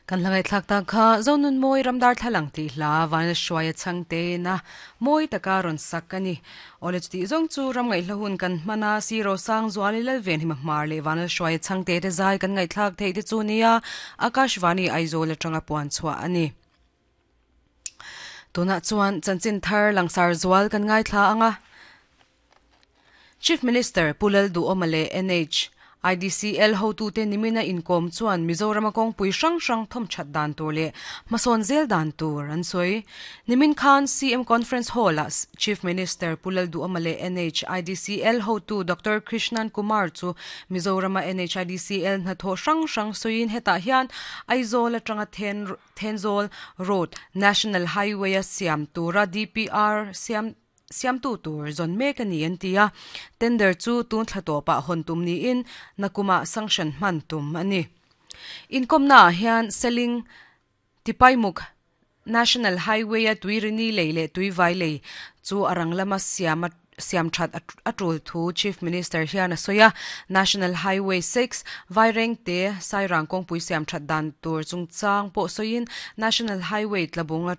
Kan hla ngaihthlak tak kha Zonunmawi Ramdar Thlalang tih hla Vanlalhruaia chhangtein a mawi taka rawn sak a ni. Awle chutih zawng chu ram ngaihhla hun kan hman a, Sir Rosangzuali Lalvenhima Hmar leh Vanlalhruaia chhangte te zai kan ngaihthlak theih te chu nia Akashvani Aizawl atanga puan chhuah a ni. Tunah chuan chanchin thar langsar zual kan ngaithla ang a. Chief Minister Pu Lalduhawma leh NH, IDCL hotute nimina inkawm chuan Mizorama kawngpui hrang hrang thawmthat dan tur leh hmasawn zel dan tur an sawi. Nimin khan CM Conference Hall-ah Chief Minister Pu Lalduhawma leh NH, IDCL hotu Doctor Krishnan Kumar chu Mizorama NH, IDCL hnathawh hrang hrang sawiin hetah hian Aizawl atanga Thenzawl Road National Highway-a siam tura DPR siam Siamtu tur zawn mek a ni an ti a, tender chu tun thla tawpah hawn tum niin nakumah sanction hman tum a ni. Inkawmnaah hian Seling Tipaimuk National Highway-a Tuirini lei leh Tuivai lei chu a rang lama siam a siam that a tul thu Chief Minister hian a sawi a, National Highway 6, Vairengte, Sairang kawngpui siam that dan tur chungchang pawh sawiin National Highway tlabung a.